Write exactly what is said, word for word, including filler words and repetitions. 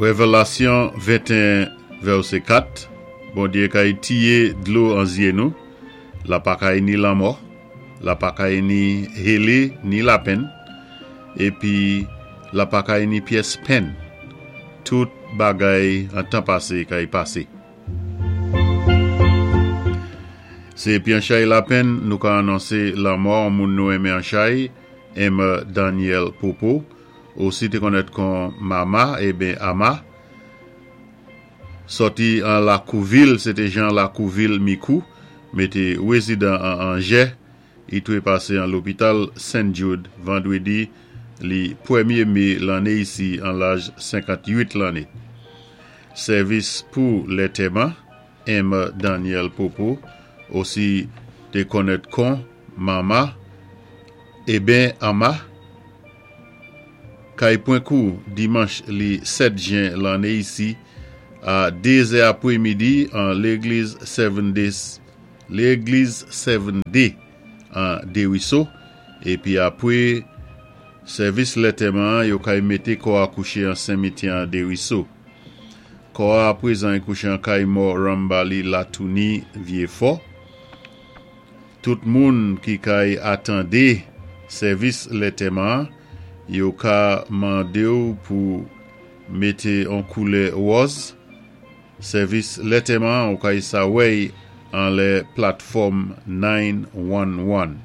Révélasyon venteyen vèsé kat, Bondyé kay tiyé dlo an zyé nou, la pa kay ni lanmò, la pa kay ni hélé ni lapenn, épi la pa kay ni pyès penn. Tout bagay an tan pasé kay pasé. Sé épi an chay lapenn nou ka anonsé lanmò an moun nou enmen an chay, M. Daniel Popo, osi té konnèt kon Mama eben Ama, sòti an Lakouvil, sé té Jean Lakouvil Mikou, mé té wézidan an Anjè, i twé pasé an lopital Saint Jude vandwédi li pwémyé mé lanné isi an laj senkant-uit lanné. Sèvis pou lantèman, M. Daniel Popo, osi té konnèt kon Mama eben Ama, kay pwan kou dimanch li sèt jen lanné isi a dézè apwémidi an légliz Seven Days, légliz Seven Day an Dériso, épi apwé sèvis lantèman yo kay mété kò a kouché an simityè an Dériso. Kò a apwézan kouché an kay mò Rambali Latouni Vyéfò. Tout moun ki kay atandé sèvis lantèman, yo ka mandé ou pou mété an koulè wòz. Sèvis lantèman ou kay sa wèy an lè platfòm nine one one.